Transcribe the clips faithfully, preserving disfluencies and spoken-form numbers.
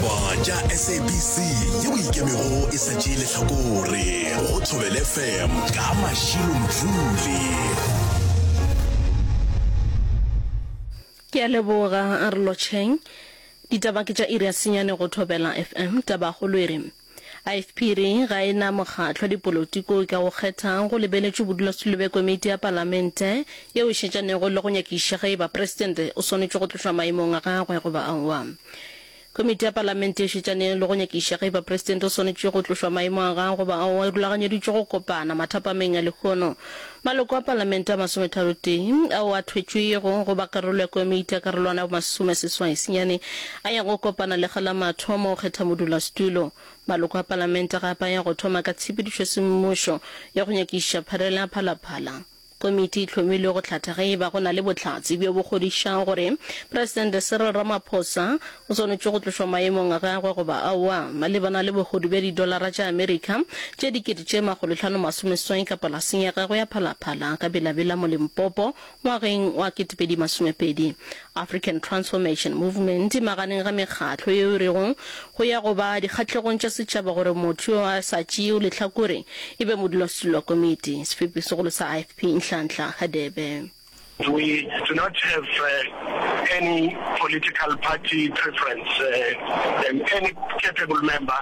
Ditaba tša S A B C yeo ikemego e sa tšee lehlakore go Thobela F M ka Mashilo Mdluli. Ke a leboga, a re lotšheng. Ditaba ke tša iri ya senyane go Thobela F M. Tabakgolo e re I F P re ga e na mokgatlo wa dipolotiko ka go kgetha go lebeletšwe bodulasetulo bja komiti ya palamente yeo e šetšanego le go nyakišiša ge e ba presidente o swanetše go tlošwa maemong a gagwe goba aowa. Komiti ya palamente e šetšanego le go nyakišiša ge e ba presidente o swanetše go tlošwa maemong a gagwe goba aowa e rulaganyeditšwe go kopana mathapameng a lehono. Maloko a palamente a masometharotee ao a thwetšwego go ba karolo ya komiti ya karolwana ya bomasomeseswai senyane a ya go kopana lekga la mathomo go kgetha modulasetulo. Maloko a palamente gape a ya go thoma ka tshepedišo semmušo ya go nyakišiša pharela ya Phalaphala. Komiti e hlomilwe go hlatha ge e ba go na le bohlatse bjo bo kgodišago gore Presidente Cyril Ramaphosa o swanetše go tlošwa maemong a gagwe goba aowa malebana le bohodu bja didolara tša Amerika tše dikete tše makgolohlano masomeseswai ka polaseng ya gagwe ya Phalaphala ka Bela-Bela mo Limpopo ngwageng wa ketepedi masomepedi. African Transformation Movement maganeng ga mekgatlo yeo e rego go ya go ba dikgahlegong tša setšhaba gore motho yo a sa tšeego lehlakore e be modulasetulo wa komiti. Sefepi segolo sa I F P Nhlanhla Hadebe. We do not have uh, any political party preference. Uh, um, any capable member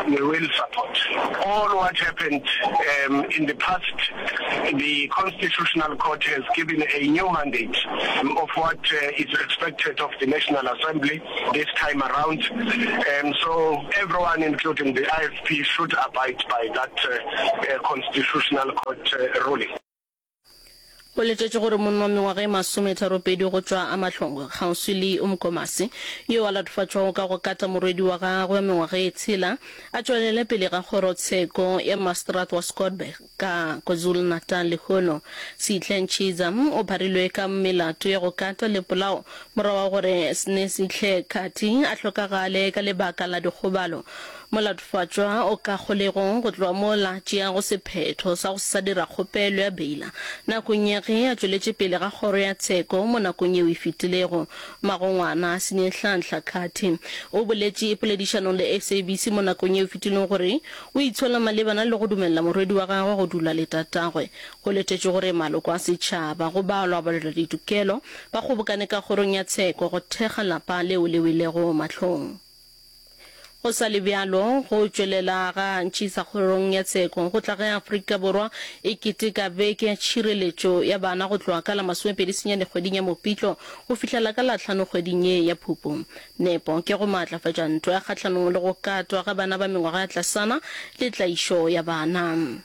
we will support. All what happened um, in the past, the Constitutional Court has given a new mandate of what uh, is expected of the National Assembly this time around. Um, so everyone, including the I F P, should abide by that uh, uh, Constitutional Court uh, ruling. Go letetše gore monna wa mengwaga e masometharopedi go tšwa Amahlongwe kgauswi le Umkomaas yo a latofatšwago ka go kata morwedi wa gagwe wa mengwaga e tshela a tšwelele pele ga kgorotsheko ya maseterata wa Scottburgh ka KwaZulu-Natal lehono. Sihle Ntshiza o pharilwe ka melato ya go kata le polao morago wa gore Snesihle Khathi a hlokagale ka lebaka la dikgobalo. Molatofatšwa o ka kgolegong go tloga mola tšeago sephetho sa go sa dira kgopelo ya beila nakong ya ge a tšweletše pele ga kgoro ya tsheko mo nakong yeo e fetilego. Magongwana Snehlanhla Khathi o boletše poledišanong le S A B C mo nakong yeo e fetilego gore o itshola malebana le go dumelela morwedi wa gagwe go dula le tatagwe. Go letetše gore maloko a setšhaba go balwa balwela ditokelo ba kgobokane ka kgorong ya tsheko go thekga lapa leo le welego mahlong. Go sa le bjalo, go tšwelela ga Ntshiza kgorong ya tsheko go tla ge Afrika Borwa e keteka beke ya tšhireletšo ya bana go tloga ka la masomepedi senyane kgweding ya Mopitlo go fihlela ka la hlano kgweding ye ya Phupu. Nepo ke go maatlafatša ntwa ya kgahlanong le go katwa ga bana ba mengwaga ya tlasana le tlaišo ya bana.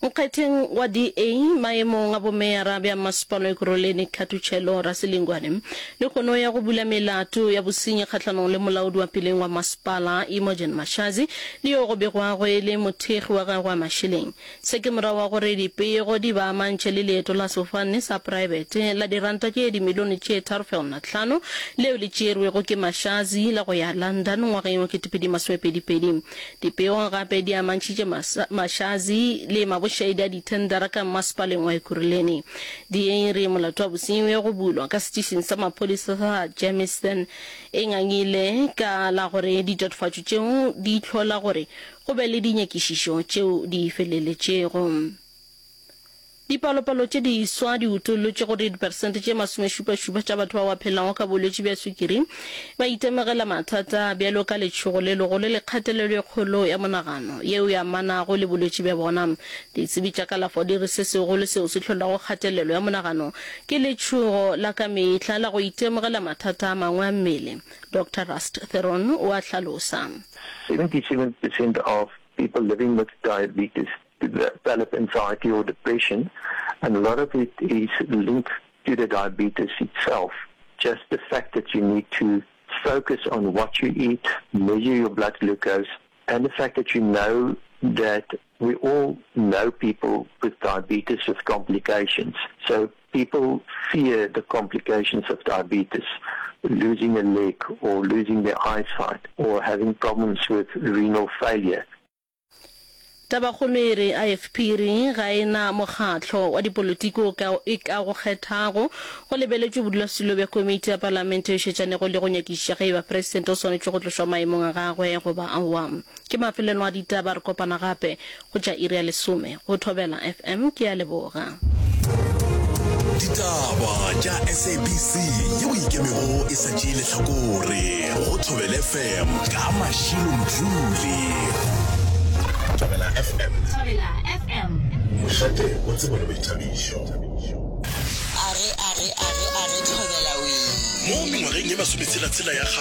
Nkgetheng wa D A maemong a bomeyara bja masepala Ekurhuleni Khathutshelo Rasilingwane le kgono ya go bula melato ya bosenyi kgahlanong le molaodi wa peleng wa masepala Imogen Mashazi le yo go begwago e le mothekgi wa gagwe wa mašeleng. Se ke morago wa gore dipego di ba amantšhe le leeto la sefofane sa praebete la diranta tše dimilione tše tharo fegelwana hlano leo le tšerwego ke Mashazi la go ya London ngwageng wa ketepedi masomepedi pedi. Dipego gape di amantšhitše Mashazi le mabošaedi a dithendara ka masepaleng wa Ekurhuleni. D A re molato wa bosenyi ya go bulwa ka setišing sa maphodisa sa Germiston e ngangile ka la gore ditatofatšo tšeo di hlola gore go be le dinyakišišo tšeo di feleletšego. Dipalopalo tše diswa di utollotše gore diperesente tše masomešupašupa tša batho bao ba phelago ka bolwetši bja sukiri ba itemogela mathata bjalo ka letšhogo le legolo le kgatelelo e kgolo ya monagano yeo e amanago le bolwetši bja bona. Ditsebi tša kalafo di re se segolo seo se hlolago kgatelelo ya monagano ke letšhogo la ka mehla la go itemogela mathata a mangwe a mmele. Doctor Rust Theron o a hlalosa. seventy-seven percent of people living with diabetes develop anxiety or depression, and a lot of it is linked to the diabetes itself. Just the fact that you need to focus on what you eat, measure your blood glucose, and the fact that you know that we all know people with diabetes with complications. So people fear the complications of diabetes, losing a leg or losing their eyesight or having problems with renal failure. Tabakgolo e re IFP e re ga e na mokgatlo wa dipolotiki o ka e ka go kgethago. Go lebeletšwe bodulasetulo bja komiti ya palamente e šetšanego le go nyakišiša ge e ba presidente o swanetše go tlošwa maemong a gagwe goba aowa. Ke mafelelo a ditaba, re kopana gape go tša iri ya lesome go Thobela FM. Ke a leboga. Ditaba tša SABC yeo e ikemego e sa tšee lehlakore go Thobela FM ka Mashilo Mdluli. Thobela FM. Thobela FM. Mošate wa tsebo le boithabišo. Are, are, are, are, Thobela wee. Mo mengwageng ye masometshela-tshela ya kgale,